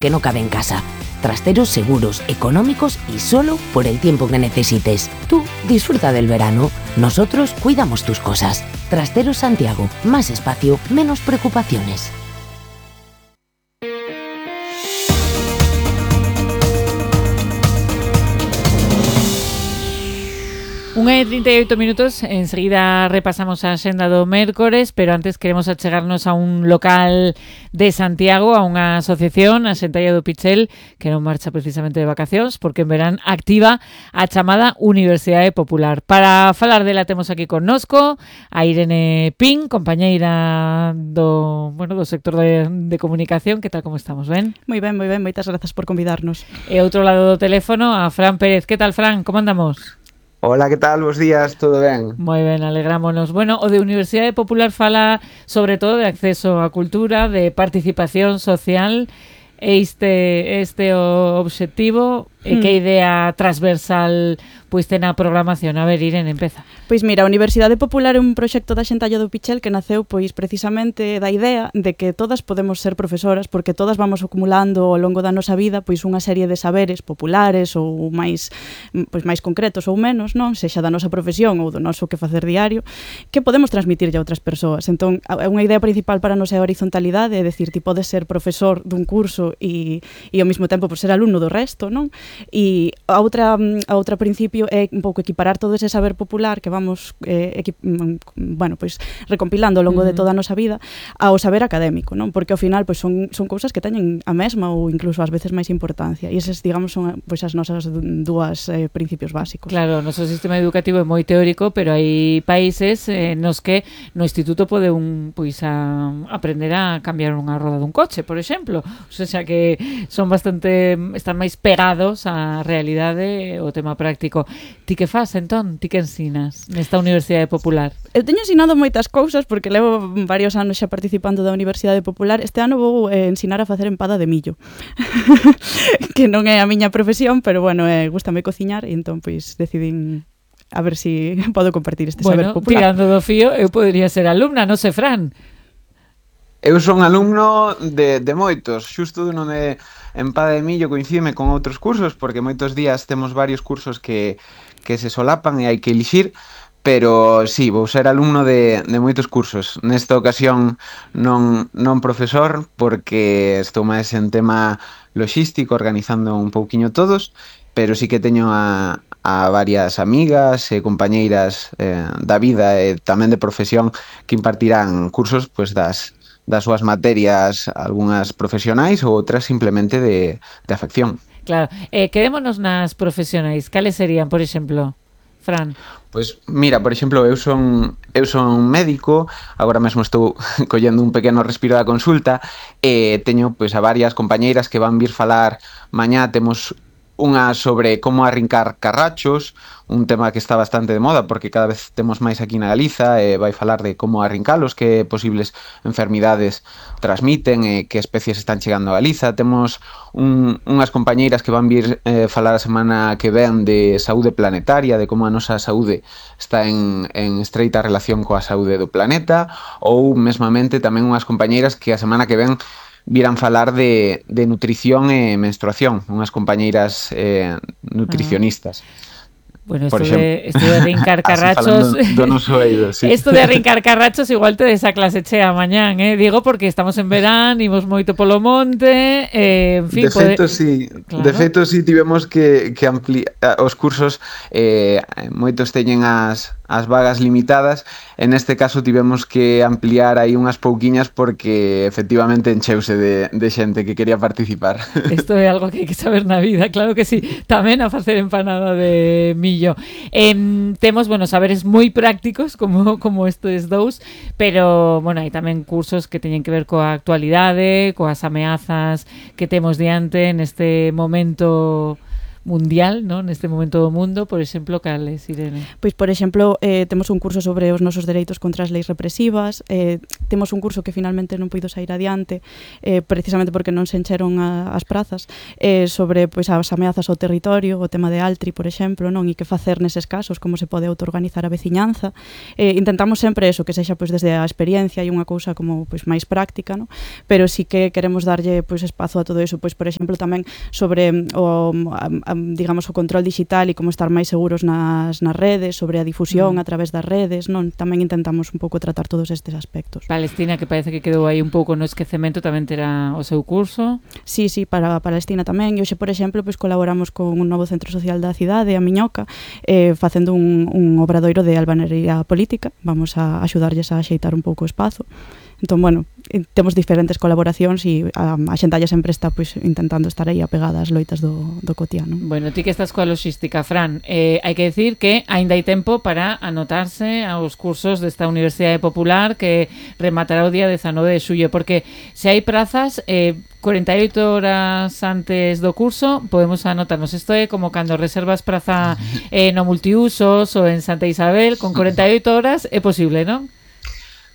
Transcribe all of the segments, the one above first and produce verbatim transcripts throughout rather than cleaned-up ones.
que no cabe en casa. Trasteros seguros, económicos y solo por el tiempo que necesites. Tú disfruta del verano, nosotros cuidamos tus cosas. Trasteros Santiago, más espacio, menos preocupaciones. Unha e trinta e oito minutos, enseguida repasamos a axenda do mércores, pero antes queremos achegarnos a un local de Santiago, a unha asociación, a Xentalla do Pichel, que non marcha precisamente de vacacións, porque en verán activa a chamada Universidade Popular. Para falar dela temos aquí connosco a Irene Pin, compañeira do, bueno, do sector de, de comunicación. Que tal, como estamos, ben? Moi ben, moi ben, moitas grazas por convidarnos. E outro lado do teléfono, a Fran Pérez. Que tal, Fran, como andamos? Hola, que tal? Bos días, todo ben? Moi ben, alegrámonos. Bueno, o de Universidade Popular fala sobre todo de acceso á cultura, de participación social. Este este o obxectivo e que idea transversal pois ten a programación. A ver, Irene, empeza. Pois mira, a Universidade Popular é un proxecto da Xentalla do Pichel que naceu pois precisamente da idea de que todas podemos ser profesoras, porque todas vamos acumulando ao longo da nosa vida pois unha serie de saberes populares ou máis pois máis concretos ou menos, non, sexa da nosa profesión ou do noso que facer diario, que podemos transmitirlle a outras persoas. Entón, unha idea principal para nós é a horizontalidade, é dicir, ti podes ser profesor dun curso e e ao mesmo tempo por ser alumno do resto, non? E a outra a outra principio é un pouco equiparar todo ese saber popular que vamos eh, equip, bueno, pois recompilando ao longo uh-huh. de toda a nosa vida ao saber académico, non? Porque ao final pois son son cousas que teñen a mesma ou incluso ás veces máis importancia. E eses, digamos, son pois as nosas dúas eh, principios básicos. Claro, o noso sistema educativo é moi teórico, pero hai países eh, nos que no instituto pode un pois a aprender a cambiar unha roda dun coche, por exemplo. O sea que son bastante están máis pegados á realidade o tema práctico. Ti que fas, entón? Ti que ensinas nesta Universidade Popular? Eu teño ensinado moitas cousas porque levo varios anos xa participando da Universidade Popular. Este ano vou eh, ensinar a facer empada de millo. Que non é a miña profesión, pero bueno, eh, gústame cociñar e entón pois decidín a ver se si podo compartir este bueno, saber popular. Tirando do fío, eu podería ser alumna, non sei, Fran. Eu son alumno de, de moitos, xusto non de empada de millo coincide con outros cursos, porque moitos días temos varios cursos que, que se solapan e hai que elixir, pero sí, vou ser alumno de, de moitos cursos. Nesta ocasión non, non profesor, porque estou máis en tema logístico, organizando un pouquiño todos, pero sí que teño a, a varias amigas e compañeiras eh, da vida e tamén de profesión que impartirán cursos pois, das das súas materias, algunhas profesionais ou outras simplemente de, de afección. Claro, eh, quedémonos nas profesionais. Cales serían, por exemplo, Fran? Pois mira, por exemplo, eu son eu son médico, agora mesmo estou collendo un pequeno respiro da consulta e teño pois a varias compañeiras que van vir falar mañá. Temos unha sobre como arrincar carrachos, un tema que está bastante de moda porque cada vez temos máis aquí na Galiza e vai falar de como arrincalos, que posibles enfermidades transmiten e que especies están chegando a Galiza. Temos un, unhas compañeiras que van vir eh, falar a semana que ven de saúde planetaria, de como a nosa saúde está en, en estreita relación coa saúde do planeta, ou mesmamente tamén unhas compañeiras que a semana que ven viran falar de, de nutrición e menstruación, unhas compañeiras eh, nutricionistas. Bueno, esto de, esto de arrincar carrachos... do noso oído, sí. Esto de arrincar carrachos igual te des a clase chea mañán, eh? Digo, porque estamos en verán, imos moito polo monte, eh, en fin... De feito, pode... sí, claro. De feito, sí, tivemos que, que ampliar os cursos, eh, moitos teñen as, as vagas limitadas, en este caso tivemos que ampliar aí unhas pouquiñas porque efectivamente encheuse de, de xente que quería participar. Isto é algo que hai que saber na vida, claro que sí, tamén a facer empanada de millo. Eh, temos, bueno, saberes moi prácticos como, como estes dous, pero, bueno, hai tamén cursos que teñen que ver coa actualidade, coas ameazas que temos diante neste momento mundial, ¿no? Neste momento do mundo, por exemplo, cales, Irene? Pois, por exemplo, eh, temos un curso sobre os nosos dereitos contra as leis represivas, eh, temos un curso que finalmente non puido sair adiante, eh, precisamente porque non se encheron a, as prazas, eh, sobre pois, as ameazas ao territorio, o tema de Altri, por exemplo, non, e que facer neses casos, como se pode autoorganizar a veciñanza. Eh, intentamos sempre eso, que sexa pois, desde a experiencia e unha cousa como pois, máis práctica, non? Pero sí que queremos darlle pois, espazo a todo eso, pois, por exemplo, tamén sobre o, a, a, digamos, o control digital e como estar máis seguros nas, nas redes, sobre a difusión mm. a través das redes, non? Tamén intentamos un pouco tratar todos estes aspectos. Palestina, que parece que quedou aí un pouco no esquecemento, tamén terá o seu curso. Sí, sí, para Palestina tamén. E hoxe, por exemplo, pois, colaboramos con un novo centro social da cidade, a Miñoca, eh, facendo un, un obradoiro de albanería política. Vamos a axudarlles a axeitar un pouco o espazo. Entón, bueno, temos diferentes colaboracións e a, a xentalla sempre está pois, intentando estar aí apegada ás loitas do, do cotiano. Bueno, ti que estás coa logística, Fran, eh, hai que decir que aínda hai tempo para anotarse aos cursos desta Universidade Popular que rematará o día dezanove de xullo, porque se hai prazas, eh, cuarenta y ocho horas antes do curso podemos anotarnos. Isto é como cando reservas praza eh, no multiusos ou en Santa Isabel, con cuarenta y ocho horas é posible, non?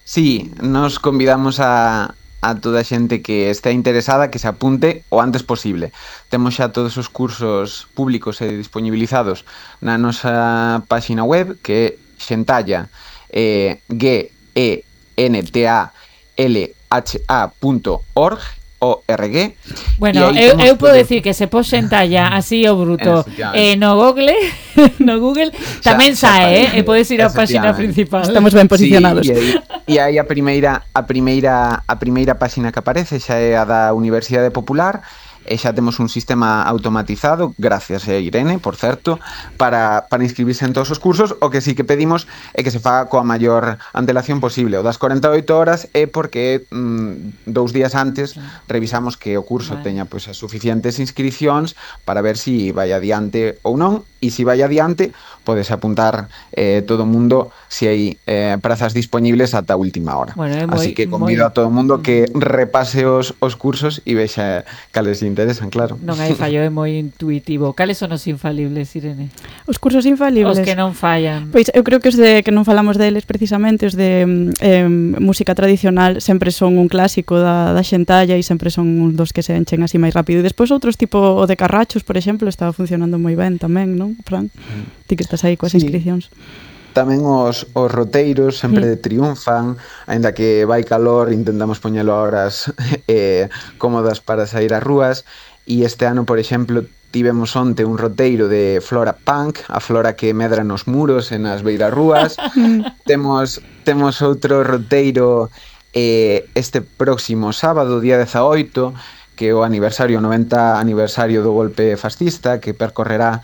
Sí, nos convidamos a, a toda a xente que este interesada que se apunte o antes posible. Temos xa todos os cursos públicos e disponibilizados na nosa páxina web, que é xentalla, eh, G E N T A L H A punto org, O R G. Bueno, eu, eu podo decir que se pos xentalla así o bruto eh, no Google, no Google tamén sae, eh, e podes ir á páxina principal. Estamos ben posicionados. Sí, e aí a primeira a primeira a primeira páxina que aparece xa é a da Universidade Popular. E xa temos un sistema automatizado, gracias a Irene, por certo, para, para inscribirse en todos os cursos. O que sí que pedimos é que se faga coa maior antelación posible. O das cuarenta y ocho horas é porque mm, dous días antes revisamos que o curso vale. teña pois, as suficientes inscripcións para ver se si vai adiante ou non. E se si vai adiante, podes apuntar eh, todo o mundo se si hai eh, prazas disponibles ata a última hora. Bueno, moi, así que convido moi... a todo o mundo que repase os, os cursos e vexa cales interesan, claro. Non hai fallo, é moi intuitivo. Cales son os infalibles, Irene? Os cursos infalibles? Os que non fallan. Pois eu creo que os de que non falamos deles precisamente, os de eh, música tradicional sempre son un clásico da, da xentalla e sempre son un dos que se enchen así máis rápido. E despois outros tipo o de carrachos, por exemplo, estaba funcionando moi ben tamén, non, Fran? Mm. Ti que estás aí coas sí. inscripcións. Tamén os, os roteiros sempre mm. triunfan, aínda que vai calor, intentamos poñelo a horas eh, cómodas para sair ás rúas. E este ano, por exemplo, tivemos onte un roteiro de Flora Punk, a flora que medra nos muros e nas beirarrúas. temos, temos outro roteiro eh, este próximo sábado, día dezaoito, que é o aniversario, noventa aniversario do golpe fascista, que percorrerá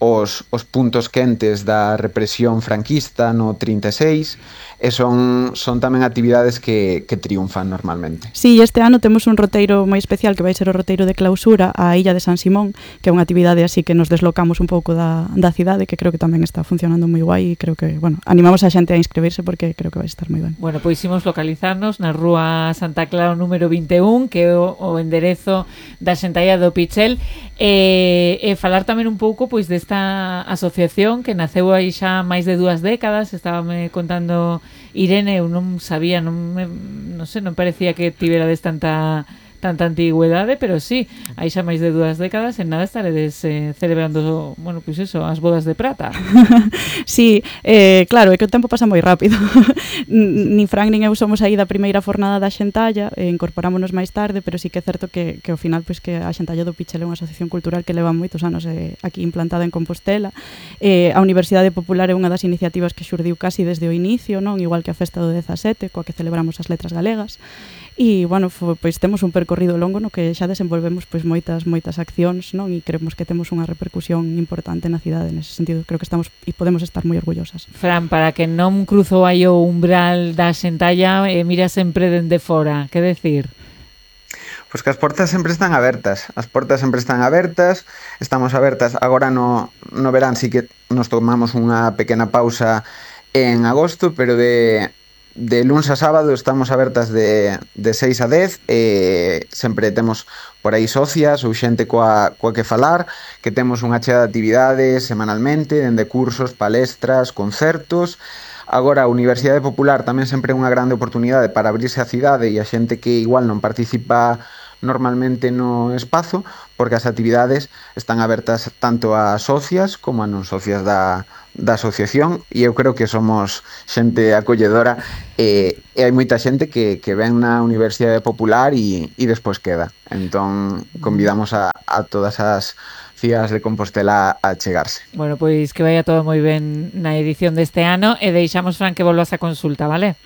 os, os puntos quentes da represión franquista no trinta e seis, e son, son tamén actividades que, que triunfan normalmente. Sí, este ano temos un roteiro moi especial que vai ser o roteiro de clausura á Illa de San Simón, que é unha actividade así que nos deslocamos un pouco da, da cidade, que creo que tamén está funcionando moi guai, e creo que, bueno, animamos a xente a inscribirse porque creo que vai estar moi ben. Bueno, pois imos localizarnos na Rúa Santa Clara número vinte e un, que é o, o enderezo da xentalla do Pichel, e, e falar tamén un pouco pois desta asociación que naceu aí xa máis de dúas décadas. Estábame contando Irene, eu non sabía, non me, non sei, non parecía que tiverades tanta tanta antigüedade, pero sí, hai xa máis de dúas décadas, en nada estaredes eh, celebrando, bueno, pois pues eso, as bodas de prata. Sí, eh, claro, é que o tempo pasa moi rápido. Nin Fran nin eu somos aí da primeira fornada da xentalla, eh, incorporámonos máis tarde, pero sí que é certo que, que ao final, pois, que a xentalla do Pichel é unha asociación cultural que leva moitos anos eh, aquí implantada en Compostela. Eh, a Universidade Popular é unha das iniciativas que xurdiu casi desde o inicio, non? Igual que a festa do dezasete, coa que celebramos as letras galegas. E, bueno, fo, pois temos un percorrido longo no que xa desenvolvemos pois moitas moitas accións, non? E creemos que temos unha repercusión importante na cidade nese sentido. Creo que estamos e podemos estar moi orgullosas. Fran, para que non cruzo aí o umbral da xentalla, eh, mira sempre dende fora, que decir? Pois que as portas sempre están abertas, as portas sempre están abertas, estamos abertas agora no, no verán, sí que nos tomamos unha pequena pausa en agosto, pero de de luns a sábado estamos abertas de, de seis a dez, e sempre temos por aí socias ou xente coa, coa que falar, que temos unha chea de actividades semanalmente, dende cursos, palestras, concertos. Agora, a Universidade Popular tamén sempre é unha grande oportunidade para abrirse a cidade e a xente que igual non participa normalmente no espazo, porque as actividades están abertas tanto a socias como a non socias da, da asociación, e eu creo que somos xente acolledora, e, e hai moita xente que, que ven na Universidade Popular e, e despois queda. Entón, convidamos a, a todas as cías de Compostela a chegarse. Bueno, pois que vaya todo moi ben na edición deste ano, e deixamos, Fran, que volvas a consulta, vale?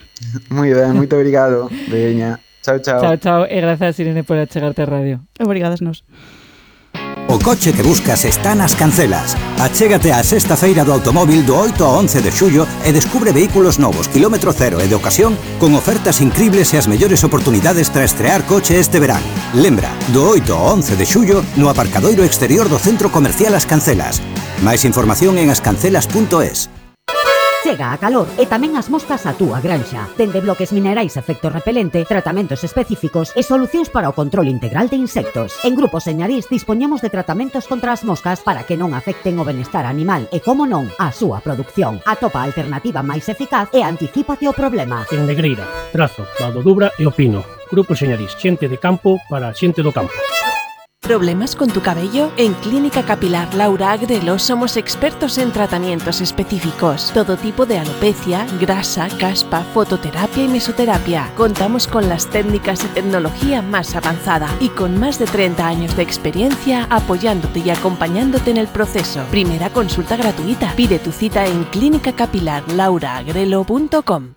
Moi ben, moito obrigado, veña. Chao, chao. Chao, chao, e grazas, Irene, por achegarte a radio. Obrigadas nos. O coche que buscas está nas Cancelas. Achégate á sexta feira do automóvil do oito ao once de xullo e descubre vehículos novos, kilómetro cero e de ocasión, con ofertas increíbles e as mellores oportunidades para estrear coche este verán. Lembra, do oito ao once de xullo no aparcadoiro exterior do Centro Comercial As Cancelas. Máis información en ascancelas punto es. Chega a calor e tamén as moscas a túa granxa. Dende bloques minerais efecto repelente, tratamentos específicos e solucións para o control integral de insectos. En Grupo Señarís dispoñemos de tratamentos contra as moscas para que non afecten o benestar animal e, como non, a súa produción. Atopa a alternativa máis eficaz e anticípate o problema. En Negreira, Trazo, Valdo Dubra e Opino. Grupo Señarís, xente de campo para xente do campo. ¿Problemas con tu cabello? En Clínica Capilar Laura Agrelo somos expertos en tratamientos específicos. Todo tipo de alopecia, grasa, caspa, fototerapia y mesoterapia. Contamos con las técnicas y tecnología más avanzada y con más de treinta años de experiencia apoyándote y acompañándote en el proceso. Primera consulta gratuita. Pide tu cita en clínica capilar laura agrelo punto com.